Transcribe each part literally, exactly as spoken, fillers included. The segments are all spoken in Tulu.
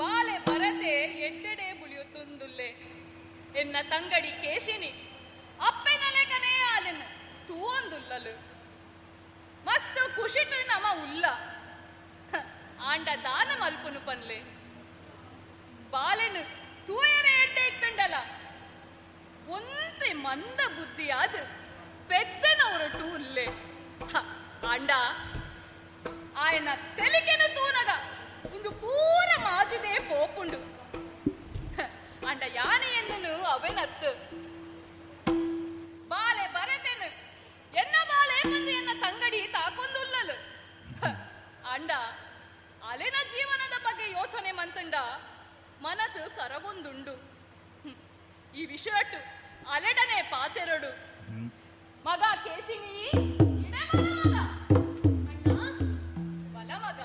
ಬಾಲೆ ಬರತೆ ಎಡ್ಡೆಡೆ ಬುಲಿಯುತ್ತುಂದುಲ್ಲೆ. ಎನ್ನ ತಂಗಡಿ ಕೇಶಿನಿ ಅಪ್ಪೆನಲೆಕನೇ ಆಲೆನ್ ತೂವೊಂದುಲ್ಲಲು. ಮಸ್ತ್ ಖುಷಿಟು ನಮ ಉಲ್ಲ. ಆಂಡ ದಾನ ಮಲ್ಪುನು ಪನ್ಲೆ. ಬಾಲೆನು ತೂಯರೆ ಎಡ್ಡೆ ಇತ್ತುಂಡಲ ಒಂತೆ ಮಂದ ಬುದ್ಧಿಯಾದ ಪೆದ್ದನವರಟು ಉಲ್ಲೆ. ಆಂಡ ಆಯನ ತೆಲಿಕೆನು ತೂನಗ ಒಂದು ಪೂರ ಮಾಜಿದೆ ಪೋಪುಂಡು. ಅಂಡ ಯಾನೆ ಎನ್ನನು ಅವೆನತ್ತು. ಬಾಲೆ ಬರತೆನು ಎನ್ನ ಬಾಲೆ ಬಂದು ಎನ್ನ ತಂಗಡಿ ತಾಕೊಂದುಲ್ಲಲು. ಅಂಡ ಅಲೆನ ಜೀವನದ ಬಗ್ಗೆ ಯೋಚನೆ ಮಂತಂಡ ಮನಸ್ಸು ಕರಗೊಂದುಂಡು. ಈ ವಿಷಯಟ್ಟು ಅಲೆಡನೆ ಪಾತೆರಡು. ಮಗ ಕೇಶಿನಿ ಬಲ ಮಗ,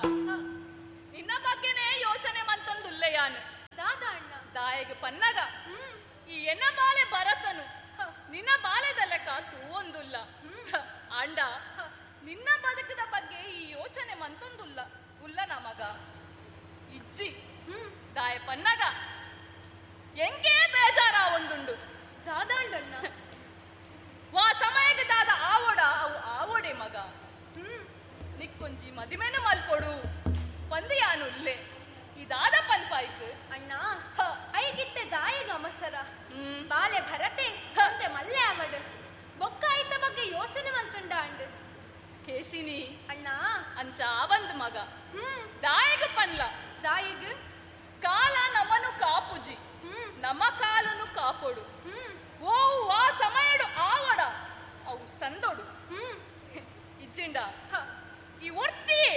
ನಿನ್ನ ಬಗ್ಗೆನೇ ಯೋಚನೆ ಮಂತೊಂದುಲ್ಲೆಯಾನು. ದಾದಾ ಅಣ್ಣ ದಾಯಗ ಪನ್ನಗ ಈ ಎನ್ನ ಬಾಲೆ ಬರತನು ನಿನ್ನ ಬಾಲೆದಲೆಕ್ಕ ತೂವೊಂದುಲ್ಲ. ಅಂಡ ನಿನ್ನ ಬದುಕದ ಬಗ್ಗೆ ಈ ಯೋಚನೆ ಮಂತೊಂದುಲ್ಲ ಉಲ್ಲನ ಮಗ. ಇಜ್ಜಿ ದಾಯ ಪನ್ನಗ ಎಂಕೇ ಬೇಜಾರ ಒಂದುಂಡು. ದಾದಾಂಡಣ್ಣ ವಾ ಸಮಯಕ್ಕೆ ದಾದ ಆವೋಡ ಅವು ಆವೋಡೆ ಮಗ. ಹ್ಮ್ ನಿಕ್ಕೊಂಜಿ ಮದಿಮೆನು ಮಲ್ಪೊಡು ಪಂದಿಯಾನು ಉಲ್ಲೆ. ಇದಾದ ಪನ್ಪಾಯ್ತು ಅಣ್ಣ. ಐಗಿತ್ತೆ ದಾಯಗ ಅವಸರ. ಬಾಲೆ ಭರತೆ ಅಂತೆ ಮಲ್ಲೆ ಅವಡು ಬೊಕ್ಕ ಐತ ಬಗ್ಗೆ ಯೋಚನೆ ಮಲ್ತುಂಡ ಅಂಡ್. ಕೇಶಿನಿ ಅಣ್ಣ ಅಂಚ ಬಂದು ಮಗ. ಹ್ಮ್ ದಾಯಗ ಪನ್ಲ. ದಾಯಗ ಕಾಲ ನಮನು ಕಾಪುಜಿ, ನಮ ಕಾಲನು ಕಾಪೊಡು. ಓ ಆ ಸಮಯಡು ಆವಡ ಅವು ಸಂದೊಡು. ಇಜ್ಜಿಂಡ ಈ ಒರ್ತಿಯೇ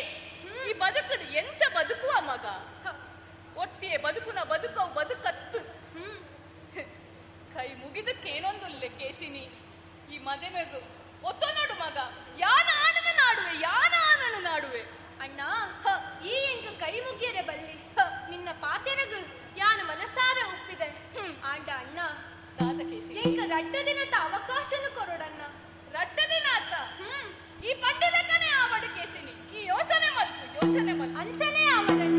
ಈ ಬದುಕುಡು ಎಂಚ ಬದುಕುವ ಮಗ. ಒರ್ತಿಯೇ ಬದುಕುನ ಬದುಕವು ಬದುಕತ್ತು. ಕೈ ಮುಗಿದಕ್ಕೇನೊಂದುಲ್ಲೆ ಕೇಶಿನಿ. ಈ ಮದೆಮೆಗು ಒತ್ತೊ ನೋಡು ಮಗ, ಯಾನ ಆನನ ನಾಡುವೆ ಯಾನ ಆನನ ನಾಡುವೆ. ಅಣ್ಣ ಈ ಎಂಕ ಕೈ ಮುಗಿಯರೆ ಬಲ್ಲಿ ನಿನ್ನ ಪಾತೆರಗು ಯಾನ ಮನಸಾರ ಒಪ್ಪಿದೆ. ಆಂಡ ಅಣ್ಣ ಎಂಕ ರಡ್ಡ ದಿನದ ಅವಕಾಶನು ಕೊರೊಡಣ್ಣ. ರಡ್ಡ ದಿನ ಆತ ಈ ಪಂಡಿಲಕ್ಕನೆ ಆವಡು ಕೇಶಿನಿ. ಈ ಯೋಚನೆ ಮಲ್ಪು ಯೋಚನೆ ಮಲ್ಪು ಅಂಚನೆ ಆವಡಣ್ಣ.